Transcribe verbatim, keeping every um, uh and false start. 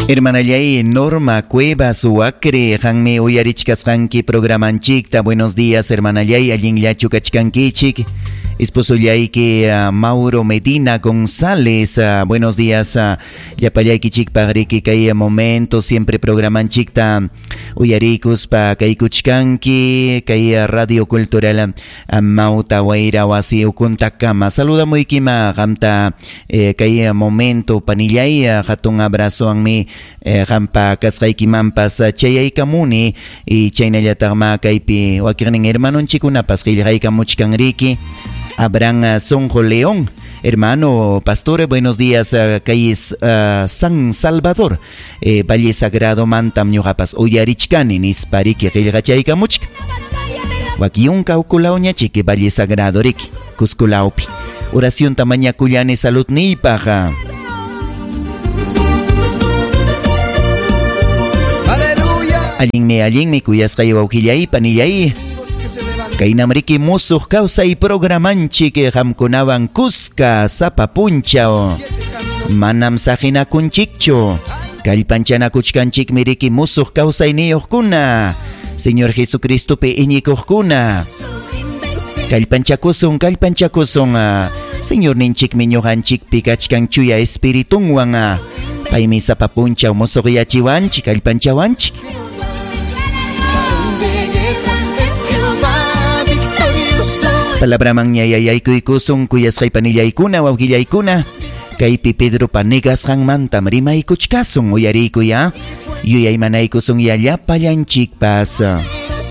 Hermanallay Norma Cuevas Huacre, qanmi uyarichkasqanki programanchikta. Buenos días, hermanallay, allinllachu kachkankichik. Esposollayki uh, Mauro Medina González, uh, buenos días, uh, llapallaykichikpaq riki kay momento siempre programanchikta uyarikuspa kaykuchkanki kay Radio Cultural uh, Mauta Wayra wasi ukuntakama. Saludamuykima qamta eh, kay momento panillay, uh, hatun abrazowanmi eh, qampa kasqaykimanpas chayaykamuni y chaynallataqma kaypi wakiqnin hermanonchikkunapas qillqaykamuchkan riki. Abraham Sonjo León, hermano pastor, buenos días, kay uh, San Salvador, eh, Valle Sagrado mantam ñuqapas uyarichkani nispa riki qillqachaykamuchka. Wakyunka ukulawñachiki Valle Sagrado riki, Cusculaupi. Oración tamañakullani saludniypaq. Aleluya. Allinmi, allinmi kuyasqay wawqillay panillay. Kaynam riki musuq kawsay programanchik qamkunawan kuska sapa punchaw. Manam saqinakunchikchu. Kallpanchanakuchkanchikmi riki musuq kawsayniyuqkuna. Señor Jesucristopi iñikuqkuna. Kallpanchakusun, kallpanchakusun. Señorninchikmi ñuqanchikpi kachkan chuya espiritunwan. Paymi sapa punchaw musuqyachiwanchik, kallpanchawanchik. Palabra manñayaykusun kuyasqay panillaykuna wawqillaykuna kaypi Pedropa negasqanmantam rimaykuchkasun uyariykuy ya yuyaymanaykusun ya llapallanchikpas.